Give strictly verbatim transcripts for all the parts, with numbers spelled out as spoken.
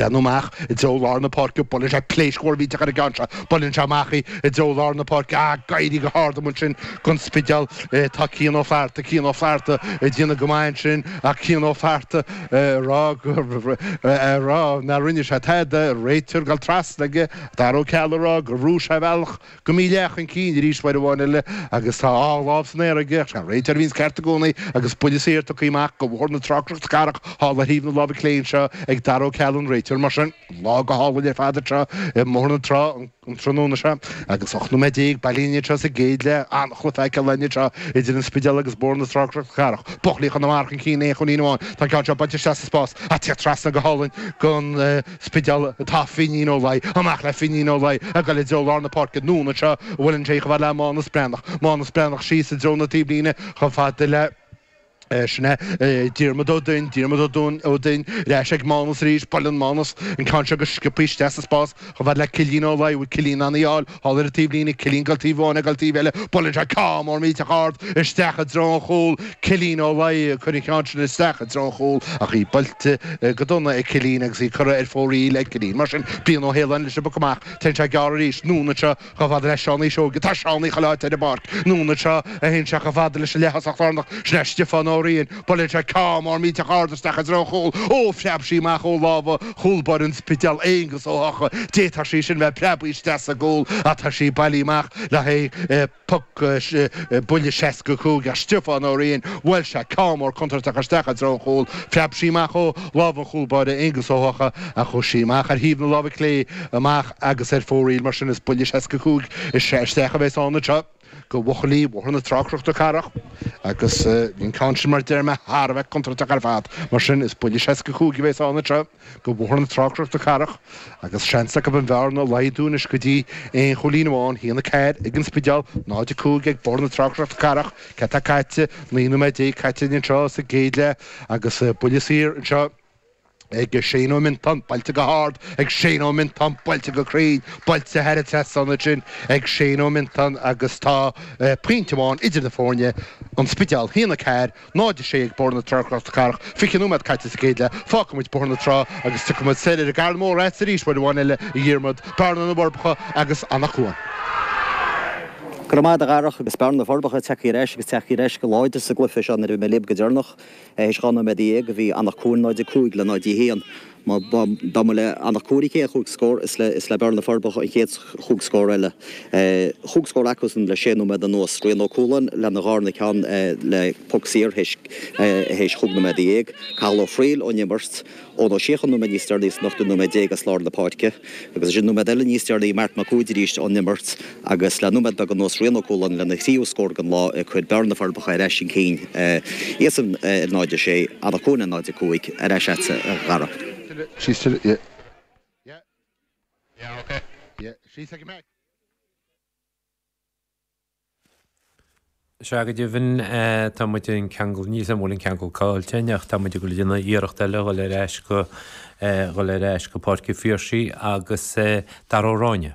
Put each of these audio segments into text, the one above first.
breathnú amach i dtreo lár na páirce, buaileann sé pléasc mhór mhillteach ar an gceann seo, buaileann sé amach í i dtreo lár na páirce, ah, ag éirí go hard amuigh ansin don Spidéal, tá Cian Ó Flatharta, Cian Ó Flatharta ag déanamh go maith ansin ach Cian Ó Flatharta ag rá go, ag rá nár rinne sé tada, réiteoir ag dul trasna aige, Dara Ó Ceallaigh ag rá gur bhrúigh sé a bhealach go mídhleathach chun cinn arís uair amháin eile agus tá a dhá lámh san aer aige ach sé an réiteoir a bhíonns ceart i gcónaí agus buille saor tugtha amach go Bhóthar na Trá Cnoc na Cathrach thall ar thaobh na láimhe clé anseo ag Dara Ó Ceallaigh an réiteoir mar sin lá go hálainn ar fad anseo i mBóthar na Trá an tráthnóna seo agus ocht nóiméad déag bailithe anseo sa gcéad leath an-chluiche feiceáil againn anseo idir an Spidéal agus Bóthar na Trá Cnoc na Cathrach. Buachaillí Chonamara chun cinn aon chúilín amháin. Tá an ceann seo buailte isteach sa spás ach ag tíocht trasna go hálainn don Spidéal atá Finín Ó Laoi. Amach le Finín Ó Laoi ag dul i dtreo lár na páirce anonn anseo a bhuaileann sé chomh fada le Mánas Breathnach. Mánas Breathnach síos i dtreo na taobhlíne chomh fada le. Sin é Diarmuid Ó Duinn, Diarmuid Ó Duinn, ar ais ag Mánas arís, buaileann Mánas an ceann seo go sciobtha isteach sa spás chomh fada le Cillian Ó Laoi, bhfuil Cillian in ann í a fháil thall ar an taobhlíne, Cillian ag dul taobh amháin, ag dul taobh eile, buaileann sé ceann mór millteach ard isteach i dtreo an chúil, Cillian Ó Laoi ag cur an cheann sin isteach i dtreo an chúil ach í buailte go dona ag Cillian agus í curtha ar fóraoil ag Cillian. Mar sin, Brian Ó hAoláin leis an bpoc amach, téann sé gearr arís, anonn anseo chomh fada le Seánie Seoige. Tá Seánie chuile áit ar an bpáirc. Anonn anseo a théann sé chomh fada leis an leath-thosach lárnach. Sin é Stiofán Ó Riain. Buaileann sé ceann mór millteach ard isteach i dtreo an chúil. Ó, phreab sí amach ó lámha chúl báire an Spidéil, Aonghus Ó hEocha. D'fhéadfadh sí sin bheith preabtha isteach sa gcúl ach tá sí bailithe amach le haghaidh poc buille seasca cúig ach Stiofán Ó Riain, bhuail sé ceann mór contúirteach isteach i dtreo an chúil. Phreab sí amach ó lámha an chúl báire, Aonghus Ó hEocha, ach chuaigh sí amach ar thaobh na láimhe clé amach agus ar fóraoil. Mar sin is buille seasca cúig isteach a bheas ann anseo do bhuachaillí Bhóthar na Trá Cnoc na Cathrach agus bhí an ceann sin mar a deir mé thar a bheith contúirteach ar fad. Mar sin is buille seasca cúig a bheas ann anseo do Bhóthar na Trá Cnoc na Cathrach agus seans acu an bhearna a laghdú anois go dtí aon chúilín amháin, a haon a ceathair ag an Spidéal, náid a cúig ag Bóthar na Trá Cnoc na Cathrach. Céard atá caite? Naoi nóiméad déag caite anseo sa gcéad leath agus buille saor anseo ag Shane Ó Miontáin, buailte go hard ag Shane Ó Miontáin, buailte go cruinn, buailte thar an trasnán ansin ag Shane Ó Miontáin agus tá pointe amháin idir na foirne, An Spidéal, a haon a ceathair, náid a sé ag Bóthar na Trá Cnoc na Cathrach, fiche nóiméad caite sa gcéad leath, fágfaidh muid Bóthar na Trá agus tiocfaidh muid soir ar an gCarn Mór agatsa arís uair amháin eile, a Dhiarmaid, Bearna na bhForbacha agus Anach Cuain. Go raibh maith agat a Dharach agus Bearna na bhForbacha tagtha ar ais agus tagtha ar ais go láidir sa gcluiche seo nuair a bhí mé libh go deireanach. Théis dhá nóiméad dhéag a bhí Anach Cuain náid a cúig le náid a haon. Má dá mba le Anach Cuain an chéad chúig scór is le is le Bearna na bhForbacha an chéad chúig scór eile. Chúig scór acusan le sé nóiméad anuas. Rian Ó Cualáin lena dharna ceann le poc saor théis théis chúig nóiméad dhéag. Cathal Ó Frighil ón imirt. Eoin Ó Síocháin nóiméad níos deireanaí san ochtú nóiméad déag as lár na páirce agus ansin nóiméad eile níos deireanaí Marc Mac Uaid arís ón imirt agus le nóiméad beag anuas Rian Ó Cualáin lena thríú scór den lá ag cur Bearna na Forbacha ar ais chun cinn iadsan ar náid a sé, Anach Cuain ar náid a cúig, ar ais agatsa a Dhara. Sea, go deimhin, tá muid an ceangal, níl 's agam an bhfuil an ceangal caillte againn ach tá muid ag dul ag déanamh iarracht eile a dhul ar ais go, dhul ar ais go Páirc an Phiarsaigh agus Dara Ó Ráinne.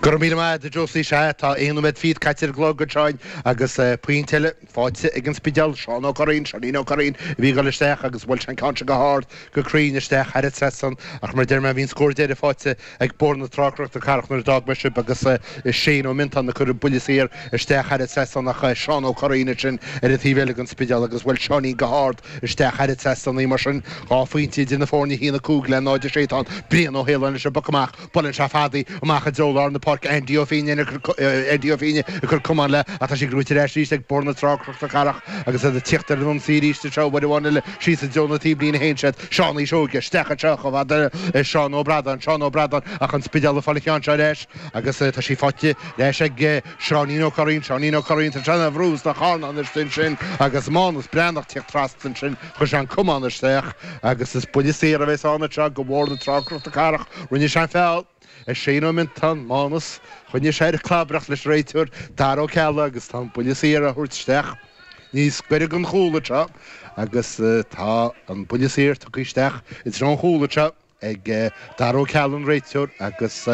Go raibh míle maith agat, a Josie. Sea, tá aon nóiméad fichead caite ar an gclog anseo agus pointe eile faighte ag an Spidéal. Seán Ó Curraoin, Seáinín Ó Curraoin a bhí ag dul isteach agus bhuail sé an ceann seo go hard, go cruinn isteach thar an trasnán ach mar a deir mé bhí an scór deiridh faighte ag Bóthar na Trá Cnoc na Cathrach nuair a d'fhág mé sibh agus Shane Ó Miontáin ag cur an buille saor isteach thar an trasnán ach Seán Ó Curraoin ansin ar an taobh eile den Spidéal agus bhuail Seáinín go hard isteach thar an trasnán í mar sin dhá phointe idir na foirne a haon a cúig le náid a sé tá Brian Ó hAoláin leis an bpoc amach buaileann sé fada í amach i dtreo lár na páirce Andy Ó Fínne Andy Ó Fínne ag cur camán léi ach tá sí gnóite ar ais arís ag Bóthar na Trá Cnoc na Cathrach agus iad ag tíocht ar an ionsaí arís anseo uair amháin eile síos i dtreo na taobhlíne a théann siad Seánie Seoige isteach anseo chomh fada le Seán Ó Bradáin, Seán Ó Bradáin ach an Spidéal ag fáil an cheann seo ar ais agus tá sí faighte ar ais ag Seáinín Ó Curraoin, Seáinín Ó Curraoin, tá sé ina bhrú sna carnáin istigh ansin agus Mánas Breathnach ag tíocht trasna ansin, chuir sé an camán isteach agus is buille saor a bheas ann anseo do Bhóthar na Trá Cnoc na Cathrach. Rinne sé an feall ar Shane Ó Miontáin, Mánas, choinnigh sé ar an clabaireacht leis an réiteoir Dara Ó Ceallaigh agus tá an buille saor á thabhairt isteach níos gaire don chúl anseo agus tá an buille saor tugtha isteach i dtreo an chúil anseo ag Dara Ó Ceallaigh an réiteoir agus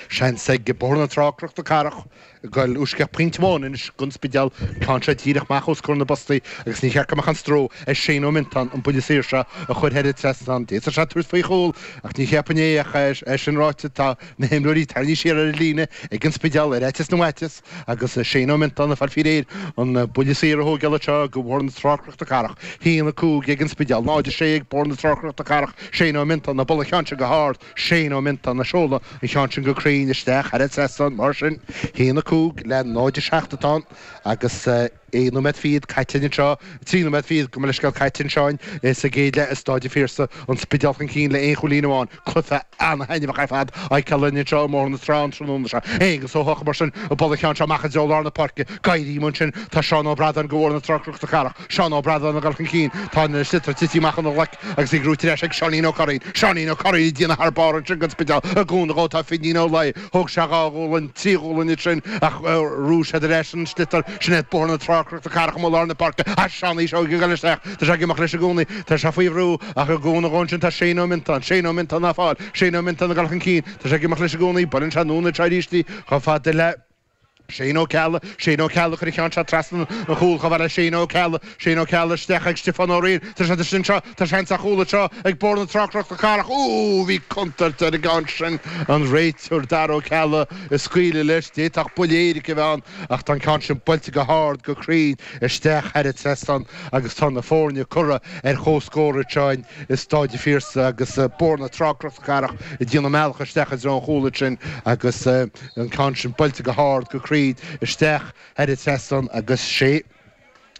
Seans ag Bóthar na Trá Cnoc na Cathrach goil uisce pointe amháin anois don Spidéal ceann seo díreach amach os comhair na bpostaí agus ní cheart go mbeadh an stró ar Shane Ó Mintáin an buille saor seo a chur thar an trasnán. D'fhéadfadh sé tabhairt faoi chúl ach ní cheapfainn é ach é sin ráite tá na himreoirí tarraingthe siar ar an líne ag an Spidéal ar fhaitíos na bhfaitíos agus Shane Ó Mintáin ag fáil faoi réir an buille saor a thógáil anseo do Bhóthar na Trá Cnoc na Cathrach. Haon a cúig ag an Spidéal, náid a sé ag Bóthar na Trá Cnoc na Cathrach, Shane Ó Mintáin ag bualadh an cheann sin go hard, Shane Ó Mintáin ag seoladh an cheann sin go cruinn isteach thar an trasnán mar sin. Haon a cúig le náid a seacht atá ann agus aon nóiméad fichead caite anseo, trí nóiméad fichead gabh mo leithscéal caite anseo sa gcéad leath i Stáid an Phiarsaigh, an Spidéal chun cinn le aon chúilín amháin. Cluiche an-thaitneamhach ar fad á fheiceáil againn anseo i mBóthar na Trá an tráthnóna seo. Aonghus Ó hEochaidh mar sin ag bualadh an cheann seo amach i dtreo lár na páirce. Éirí ansin tá Seán Ó Bradáin do Bhóthar na Trá Cnoc na Cathrach. Seán Ó Bradáin ag dul chun cinn. Tá an sliotar tite amach óna ghlaic agus í gnóite ar ais ag Seáinín Ó Curraoin. Seáinín Ó Curraoin ag déanamh thar barr ansin don Spidéal. I gcúnamh dhó tá Finín Ó Laoi. Thóg sé dhá ghualainn, trí ghualainn ansin ach bhrúigh siad ar ais an sliotar. Sin é Bóthar na Trá Cnoc na Cathrach amuigh i lár na páirce. Ach Seánie Seoige ag dul isteach. Tá sé ag imeacht leis i gcónaí. Tá sé faoi bhrú ach i gcúnamh dhó ansin tá Shane Ó Mintáin. Shane Ó Mintáin á fáil. Shane Ó Mintáin ag dul chun cinn. Tá sé ag imeacht leis i gcónaí. Buaileann sé anonn anseo arís í chomh fada le Shane Ó Ceallaigh, Shane Ó Ceallaigh chuir an ceann seo trasna an chúil chomh fada le Shane Ó Ceallaigh, Shane Ó Ceallaigh isteach ag Stiofán Ó Riain, tá sé istigh anseo, tá seans ar chúl anseo ag Bóthar na Trá Cnoc na Cathrach, Ooh, bhí contúirt ar an gceann sin, an réiteoir Dara Ó Ceallaigh ag scaoileadh leis, d'fhéadfadh buille éirice a bheith ann ach tá an ceann sin buailte go hard, go cruinn isteach thar an trasnán agus tá na foirne curtha ar comhscór anseo i Stáid an Phiarsaigh agus Bóthar na Trá Cnoc na Cathrach ag déanamh a mbealach isteach i dtreo an chúil ansin agus an ceann sin buailte go hard, go cruinn isteach thar an trasnán agus sé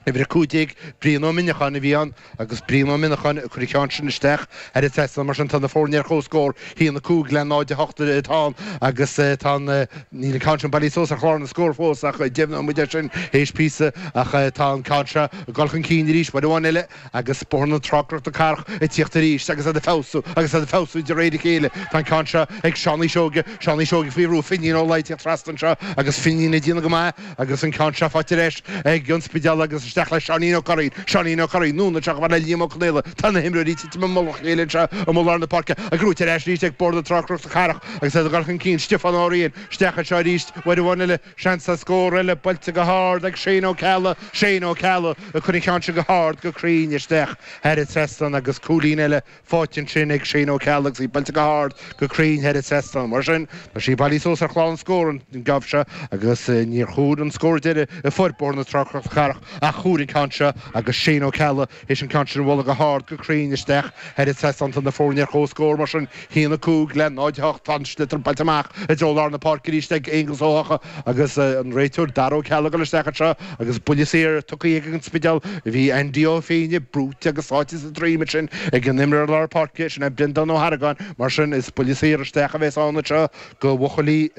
uimhir a cúig déag Brian Ó Minneacháin a bhí ann agus Brian Ó Minneacháin ag cur an ceann sin isteach thar an trasnán. Mar sin tá na foirne ar comhscór, haon a cúig le náid a hocht atá ann agus tá an, níl an ceann sin bailithe suas ar chlár na scór fós ach deimhneoidh muid é sin théis píosa ach tá an ceann seo ag dul chun cinn arís uair amháin eile agus Bóthar na Trá Cnoc na Cathrach ag tíocht arís agus iad ag feabhsú agus iad ag feabhsú de réir a chéile. Tá an ceann seo ag Seánie Seoige, Seánie Seoige faoi bhrú, Finín Ó Laoi ag tíocht trasna anseo agus Finín ag déanamh go maith agus an ceann seo faighte ar ais ag an Spidéal agus isteach le Seáinín Ó Curraoin, Seáinín Ó Curraoin, anonn anseo chomh fada le Liam Ó Conaola. Tá na himreoirí ag titim i mullach a chéile anseo i lár na páirce ach gnóite ar ais arís ag Bóthar na Trá Cnoc na Cathrach agus iad ag dul chun cinn. Stiofán Ó Riain isteach anseo arís uair amháin eile. Seans ar scór eile buailte go hard ag Shane Ó Ceallaigh, Shane Ó Ceallaigh ag cur an cheann sin go hard go cruinn isteach thar an trasnán agus cúilín eile faighte ansin ag Shane Ó Ceallaigh agus í buailte go hard go cruinn thar an trasnán. Mar sin, tá sí bailithe suas ar chlár na scór an geábh seo agus níor chóir an scór deiridh a fuair Bóthar na Trá Cnoc na Cathrach ach chuaigh an ceann seo agus Shane Ó Ceallaigh théis an ceann sin a bhualadh go hard go cruinn isteach thar an trasnán. Tá na foirne ar comhscór mar sin, haon a cúig le náid a hocht. Tá an sliotar buailte amach i dtreo lár na páirce arís ag Aonghus Ó hEochaidh agus an réiteoir Dara Ó Ceallaigh ag dul isteach anseo agus buille saor tugtha ag an Spidéal. Bhí Andy Ó Féinne brúite agus sáite sa droim ansin ag an imreoir lár páirce, sin é Breandán Ó hArgáin. Mar sin, is buille saor isteach a bheas ann anseo do bhuachaillí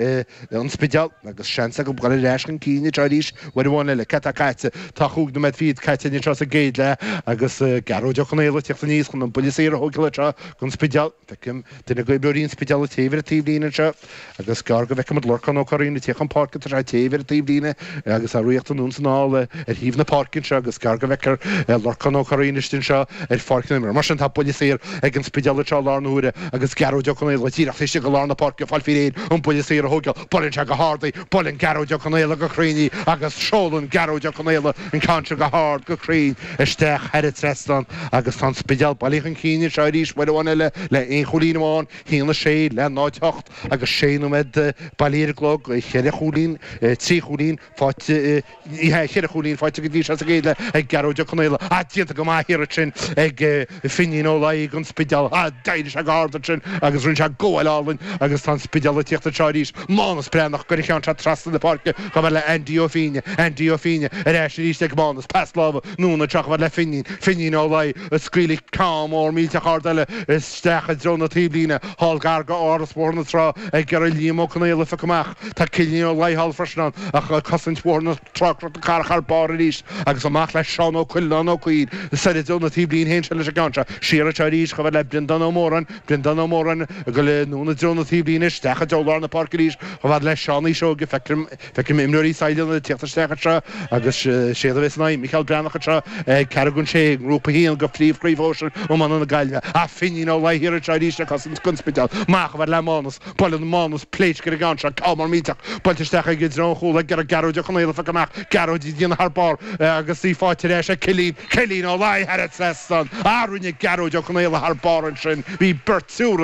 an Spidéil agus seans acu dul ar ais chun cinn anseo arís uair amháin eile. Cad tá caite? Tá chúig nóiméad fichead caite anseo sa gcéad leath agus Gearóid Ó Conaola ag tíocht aníos chun an buille saor a thógáil anseo don Spidéal. Feicim duine d'imreoirí an Spidéil ag téamh ar an taobhlíne anseo agus is gearr go bhfeicfimid Lorcán Ó Curraoin ag tíocht chun páirce. Tá sé ag téamh ar an taobhlíne agus á ritheacht anonn is anall ar thaobh na páirce anseo agus is gearr go bhfeicfear Lorcán Ó Curraoin istigh anseo ar pháirc na himeartha. Mar sin tá buille saor ag an Spidéal anseo i láthair na huaire agus Gearóid Ó Conaola díreach taobh istigh de lár na páirce ag fáil faoi réir an buille saor a thógáil. Buaileann sé go hard í, buaileann Gearóid Ó Conaola go cruinn í agus seolann Gearóid Ó Conaola an ceann seo go hard go cruinn isteach thar an trasnán agus tá an Spidéal bailithe chun cinn anseo arís uair amháin eile le aon chúilín amháin, haon a sé le náid a hocht agus sé nóiméad bailithe ar an gclog, ceithre chúilín, trí chúilín faighte, ní hea, ceithre chúilín faighte go dtí seo sa gcéad leath ag Gearóid Ó Conaola. Ah, déanta go maith thiar ansin ag Finín Ó Laoi don Spidéal. Ah, d'éirigh sé go hard ansin agus rinne sé gabháil álainn agus tá an Spidéal ag tíocht anseo arís. Mánas Breathnach ag cur an cheann seo trasna na páirce chomh fada le Andy Ó Fínne. Andy Ó Fínne ar ais arís ag Mánas. Pas láimhe anonn anseo chomh fada le Finín. Finín Ó Laoi ag scaoileadh ceann mór millteach ard eile isteach i dtreo na taobhlíne. Thall gar go Áras Bhóthar na Trá ag iarraidh Liam Ó Conaola a phiocadh amach. Tá Cillian Ó Laoi thall freisin ann ach cosaint Bhóthar na Trá Cnoc na Cathrach thar barr arís agus amach le Seán Ó Cuileanáin Ó Cuill soir i dtreo na taobhlíne théann sé leis an gceann seo. Siar anseo arís chomh fada le Breandán Ó Móráin. Breandán Ó Móráin ag dul anonn i dtreo na taobhlíne isteach i dtreo lár na páirce arís chomh fada le Seánie Seoige. Feicim imreoirí Sailearna ag tíocht isteach anseo agus séard a bheas san aghaidh Micheál Breathnach anseo ceathrú don sé i nGrúpa a haon de Phríomh-Chraobh Shóisir Iomána na Gaillimhe. Ach Finín Ó Laoi thiar anseo arís ag cosaint don Spidéal. Amach chomh fada le Mánas. Buaileann Mánas pléisc ar an gceann seo. Ceann mór millteach buailte isteach ag i dtreo an chúil ag iarraidh Gearóid Ó Conaola a phiocadh amach. Gearóid ag déanamh thar barr agus í faighte ar ais ag Cillín. Cillín Ó Laoi thar an trasnán. Ah rinne Gearóid Ó Conaola thar barr ansin. Bhí beirt triúr